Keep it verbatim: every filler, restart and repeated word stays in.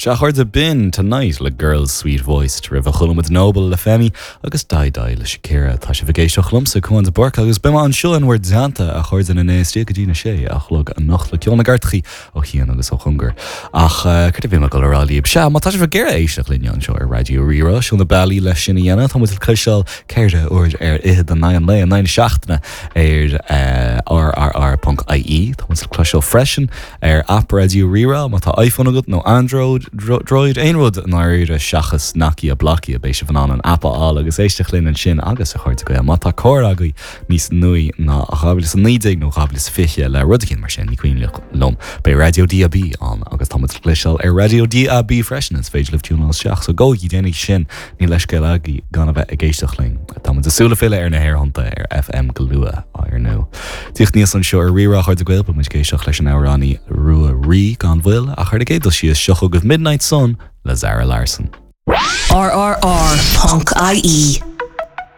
Sea a chairde b'in Tonight le Girl Sweet Voice roimhe chuala muid Noble le Femi agus Dai Dai le Shakira Tá sibh ag éisteacht liomsa Cuan de Búrca agus beidh mé anseo in bhur dteannta a chairde na néistí go dtí na sé a chlog anocht le ceol na gcairteacha ó chian agus ó chóngar. Ach cad a bhí mé ag dul a rá libh sea má tá sibh ag iarraidh éisteacht linne anseo ar Raidió Rí-Rá seo na bealaí leis sin a dhéanamh tá muid le cloisteáil ceithre huair ar fhichead in aghaidh an lae in aghaidh na seachtaine ar rrr.ie Tá muid le cloisteáil freisin ar app Raidió Rí-Rá má tá iPhone agat nó Android Droid aon rud náire seachas Nokia Blokia beidh sibh in ann an app a fháil agus éisteacht linn ansin agus a chairde Gael má tá carr agaibh níos nuaí ná dhá mhíle is a naoi déag nó dhá mhíle is fiche le rud éigin mar sin ní cuimhin liom beidh Raidió DAB ann agus tá muid le cloisteáil ar Raidió DAB freisin is féidir libh tiúnáil isteach so gabhaigí déanaigí sin níl leithscéal agaibh gan a bheith ag éisteacht linn Tá muid ag súil le filleadh ar na haerthonnta ar FM go luath ar ndóigh. Tíocht níos anseo ar Rí-Rá a chairde Gael muid ag éisteacht leis an amhránaí Ruaidhrí gan mhoill ach ar an gcéad dul síos seo chugaibh Midnight Sun le Zara Larsson. RRR.ie